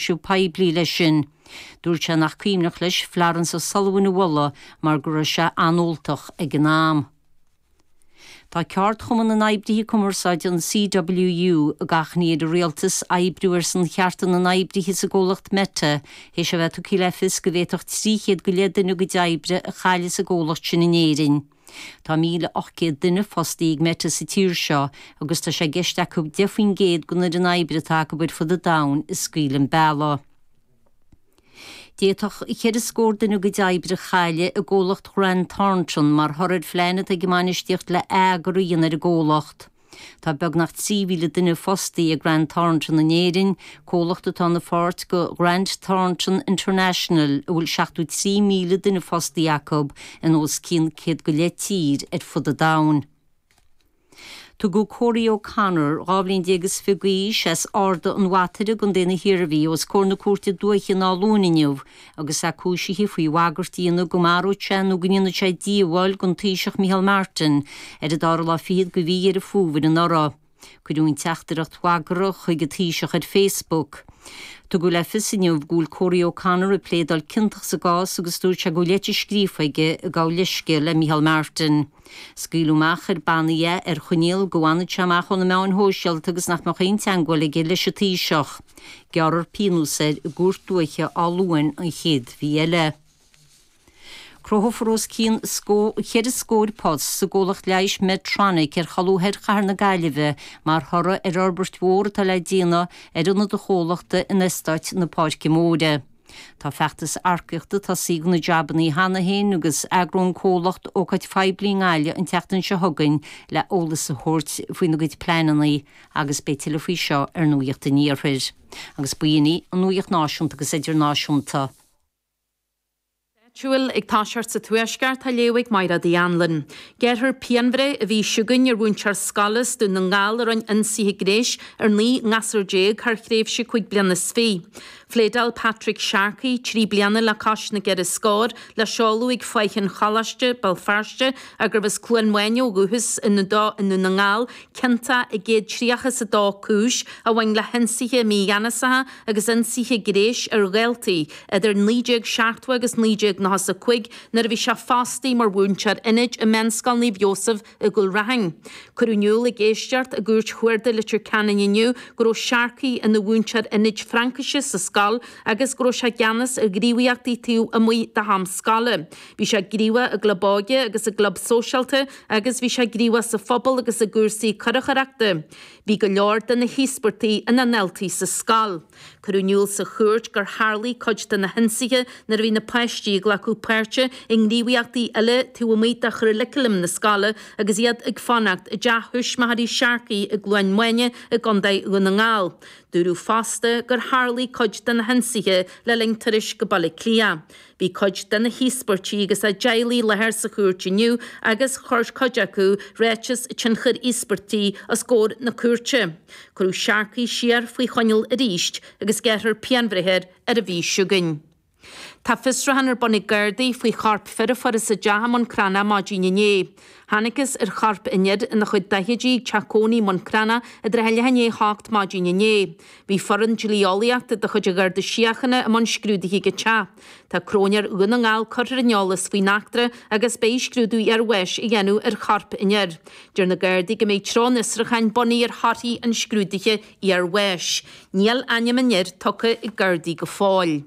Cúiseamh poiblí leis sin. Dúirt sé nach cuimhneach leis Florence O'Sullivan a mholadh mar go raibh sé an-óltach ag an am. Tá Ceardchumann na nOibrithe Cumarsáide, an CWU, ag achainí ar an Rialtas oibriú ar son chearta na n-oibrithe sa gcomhlacht Meta théis a bheith tugtha le fios go bhféadfadh 300 go leith duine a gcuid oibre a chailleadh sa gcomhlacht sin in Éirinn. Tá 1,800 duine fostaithe ag Meta sa tír seo agus tá sé i gceist acu 10% den fhoireann oibre atá acu ar fud an domhain a scaoileadh an bealach. D'fhéadfadh cheithre scór duine a gcuid oibre a chailleadh i gcomhlacht Grant Thornton mar thoradh ar phlean atá ag an mbainistíocht le atheagrú a dhéanamh ar an gcomhlacht. Tá beagnach 3,000 duine fostaithe ag Grant Thornton in Éirinn, comhlacht atá ina pháirt de Grant Thornton International a bhfuil 73,000 duine fostaithe acu in os cionn 100 go leith tír ar fud an domhain. Tugadh Corey O'Connor, 12 bhliain is fiche d'aois, as Ard an Bhataire i gContae na hIarmhí os comhair na cúirte dúiche in Áth Luain inniu agus é cúisithe faoi bhagairt a dhéanamh go maródh sé nó go ndéanfadh sé díobháil don Taoiseach Micheál Martin ar an dara lá fichead de mhí Dheireadh Fómhair anuraidh. Cuireadh an teachtaireacht bhagartha chuig an Taoiseach ar Facebook. Tugadh le fios inniu go bhfuil Corey O'Connor ag pléadáil ciontach sa gcás agus dúirt sé go bhfuil leitir scríofa aige ag gabháil leithscéil le Micheál Martin. Scaoileadh amach ar bannaí é ar choinníoll go bhfanfadh sé amach ó na meáin shóisialta agus nach mbeadh aon teagmháil aige leis an Taoiseach. Gearrfar pionós air i gCúirt Dúiche Áth Luain an chéad mhí eile. Cruthófar os cionn cheithre scór post sa gcomhlacht leighis Medtronic ar cholbha thoir chathair na Gaillimhe mar thoradh ar fhorbairt mhór atá le déanamh ar ionad an chomhlachta in Eastát na Páirce Móire. Tá feachtas earcaíochta tosaithe do na jabannaí cheana féin agus eagróidh an comhlacht ócáid phoiblí i nGaillimh an tseachtain seo chugainn le eolas a thabhairt faoina gcuid pleananna agus beidh tuilleadh faoi seo ar Nuacht an Iarthair. Agus b'in í an nuacht náisiúnta agus idirnáisiúnta. Áitiúil ag toiseacht sa Tuaisceart á léamh ag Mairéad Uí Anluain. Gearrfar pianbhreith an mhí seo chugainn ar mhúinteoir scoile as Dún na nGall a rinne ionsaithe gnéis ar 19 ngasúr thar thréimhse cúig bliana is fiche. Phléadáil Patrick Sharkey, 3 bliana le cois na gceithre scór, le seoladh ag Faiche an Choláiste, Béal Feirste, ach gurbh as Cluain Mhaine ó dhúchas i nDún na nGall, ciontach i gcéad tríocha is a dó cúis a bhain le hionsaithe mígheanasacha agus ionsaithe gnéis ar dhaltaí idir 1970 agus 1995 nuair a bhí sé fostaithe mar mhúinteoir ionaid i Meánscoil Naomh Iósaf i gCúil Raithin. Cuireadh in iúl ag éisteacht i gCúirt Chuarda Leitir Ceanainn inniu go raibh Sharkey ina mhúinteoir ionaid Fraincise sa scoil agus go raibh sé i gceannas ar ghníomhaíochtaí taobh amuigh de ham scoile. Bhí sé gníomhach i gclub óige agus i gclub sóisialta agus bhí sé gníomhach sa phobal agus i gcúrsaí curachaireachta. Bhí go leor de na híospartaigh ina ndaltaí sa scoil. Cuireadh in iúl sa chúirt gur tharlaigh cuid de na hionsaithe nuair a bhí na páistí ag glacadh páirte i ngníomhaíochtaí eile taobh amuigh de churaclam na scoile agus iad ag fanacht i dteach thuismitheoirí Sharkey i gCluain Maine i gContae Dhún na nGall. Dúradh fosta gur tharlaigh cuid de na hionsaithe le linn turais go Baile Átha Cliath. Bhí cuid de na híospartaigh agus a dteaghlaigh i láthair sa chúirt inniu agus chuir cuid acu ráiteas tionchair íospartaigh os comhair na cúirte. Cuireadh Sharkey siar faoi choinneáil arís agus gearrfar pianbhreith air ar an mhí seo chugainn. Tá fiosrúchán ar bun ag Gardaí faoi chorp fir a fuarthas i dteach i mBun Cranncha maidin inné. Thángthas ar chorp an fhir ina chuid daichidí ag teach cónaí i mBun Cranncha i dtrátha leath i ndiaidh a hocht maidin inné. Bhí foireann dlí-eolaíochta de chuid an Gharda Síochána i mbun scrúdaithe ag an teach. Tá Cróinéir Dhún na nGall curtha ar an eolas faoin eachtra agus beidh scrúdú iarbháis á dhéanamh ar chorp an fhir. Deir na Gardaí go mbeidh treo an fhiosrúcháin bunaithe ar thorthaí an scrúdaithe iarbháis. Níl ainm an fhir tugtha ag Gardaí go fóill.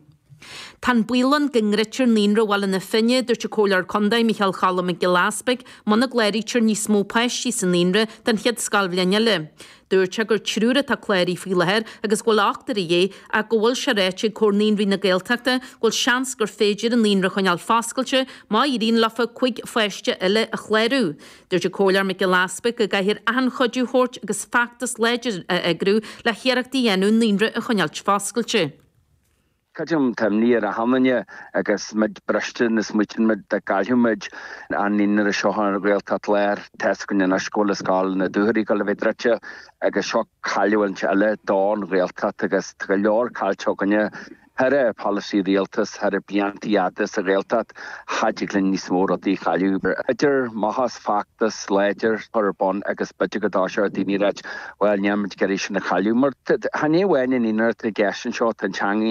Tá an baol ann go ndruidtear Naíonra Bhaile na Finne, dúirt an Comhairleoir Contae Micheál Cholm Mac Giolla Easpaig, muna gcláraítear níos mó páistí sa naíonra don chéad scoilbhliain eile. Dúirt sé gur triúr atá cláraithe faoi láthair agus go bhfuil ochtar a dhíth ach go bhfuil sé ráite ag Comhar Naíonraí na Gaeltachta go bhfuil seans gur féidir an naíonra a choinneáil foscailte má éiríonn leofa 5 pháiste eile a chlárú. Dúirt an Comhairleoir Mac Giolla Easpaig go gcaithfear achan chuidiú a thabhairt agus feachtas láidir a eagrú le hiarrachtaí a dhéanamh an naíonra a choinneáilt foscailte. Creidim, tá imní ar achan duine agus muid briste nuair a smaoitíonn muid dá gcaillfeadh muid an naíonra seo ar an Ghaeltacht Láir. Tá fhios againn anois go bhfuil Scoil na Dúchoraidhe ag dul a bheith druidte agus seo cailliúint eile don Ghaeltacht agus tá go leor caillte againne. Thar polasaí rialtas thar blianta fhada sa Ghaeltacht, cha dtig linn níos mó rudaí a chailleadh. Idir maitheas feachtas láidir chur ar bun agus b'fhéidir go dtoiseoidh daoine a ráit, bhuel, níl muid ag iarraidh sin a chailleadh. Mar chan é amháin an naíonra atá i gceist anseo, tá an teanga.